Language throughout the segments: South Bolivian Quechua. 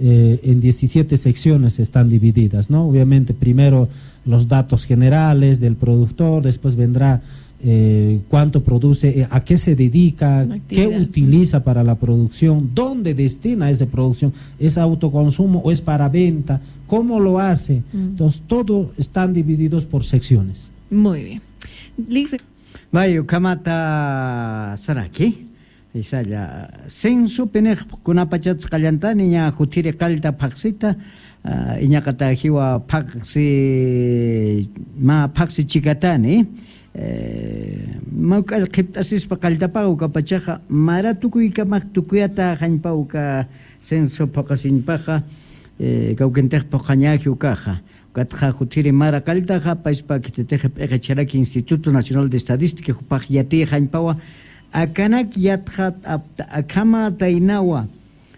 En 17 secciones están divididas, ¿no? Obviamente, primero los datos generales del productor, después vendrá cuánto produce, a qué se dedica, qué utiliza para la producción, dónde destina esa producción, es autoconsumo o es para venta, cómo lo hace. Entonces, todo están divididos por secciones. Muy bien. Liz. Bayo kamata saraki. Isalla censo penej kunapachatz qallantani ña jutiri qalta phaqsita iñaqata jiwa phaqsi ma phaqsi chikatani mawk'al qhipt'asispa qalltapaqa ukapachaqa mara tukuykamaq tukuyata hañpa uka censo phaqasinpaqa kawkintej phoqañaji ukaqa ukatqa jutiri mara qalltaqa payspa kititeje p'eqecharaki Instituto Nacional de Estadística jupaq yatiy hañpawa akanak yatqa akama taynawa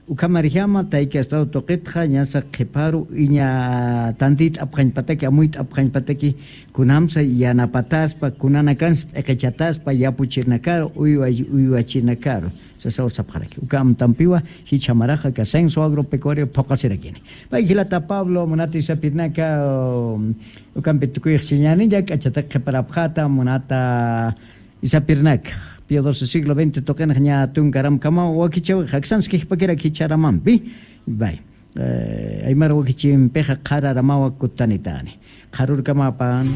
ukamarjama tayka estado toqitqa ñasa qhiparu iña tantit apqañpataki amuyt apqañpataki kunamsa yanapataspa kunanakans p'eqechataspa yapuchirnakaru uywachinakaru sasaw sapqaraki ukam tampiwa hichamaraja ka censo agropecuario phoqasirakini pay hilata Pablo munata isapirnaka ukampi tukuyq chiñanilla k'achata qhiparapqata munata isapirnaka Pío XII siglo XX toqenaj ña tunkaram kama wakichaw jaksanski pakira kicharamampi bay aymara wakichin peja qararamawa kutanitani qarurkamapan.